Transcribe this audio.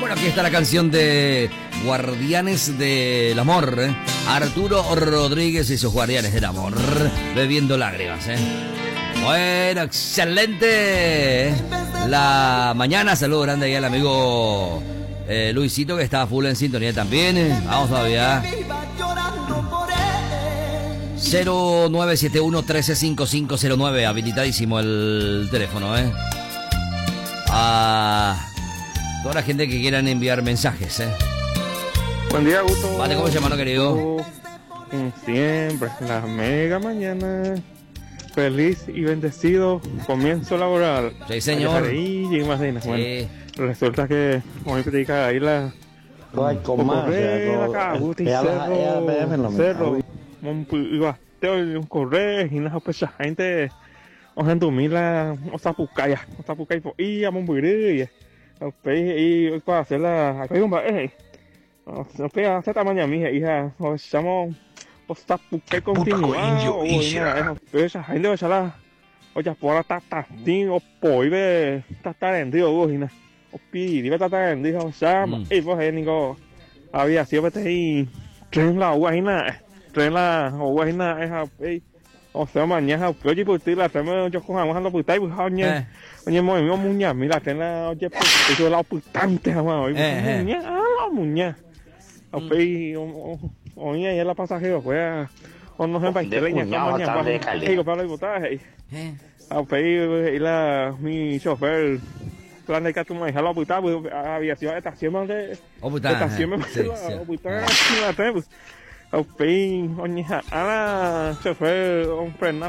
Bueno, aquí está la canción de Guardianes del Amor. ¿eh? Arturo Rodríguez y sus Guardianes del Amor. Bebiendo lágrimas. ¿eh? Bueno, excelente. La mañana, saludo grande ahí al amigo Luisito que está full en sintonía también. Vamos todavía. 0971 135509, habilitadísimo el teléfono, ¿eh? A toda la gente que quieran enviar mensajes, ¿eh? Buen día, Gusto. Vale, ¿cómo se llama, no, querido? Como siempre, la mega mañana. Feliz y bendecido comienzo laboral. Sí, señor. Y bueno, resulta que hoy predica ahí la. Cerro, correr, y no pues gente ohendumíla osapukaya, osapukái po'i amombyry upéi he'i oikuaase la mba'e he'i upéi asẽta amañami he'i ha ohechámo osapukái continua oĩra'e upéicha háinte ohecha la ojapóva la tatatĩ opoíve tata rendy ou hína opiriri pe tata rendy ha ohecha mba'éipa he'i niko había sido peteĩ tren la oúva hína tren la oúva hína ha upéi Osẽ omaña ha upe ojepyty la trénme ojoko hag̃ua ha ndopytái ha oñemoĩmi omuñami la tren la ojepyty chupe la opytánte hag̃ua oĩ omuña ha la omuña. Ha upéi oĩ aĩ la pasajerokuéra onohẽmbaite la iñakã omañamba he'i ko la oipotáva he'i. Ha upéi he'i la umi chofer la ndaikatumo'ãiha la opyta había sido estación-mante estación-mante la opyta la tren. Ha upéi oñeha'ã la chofer ofrena.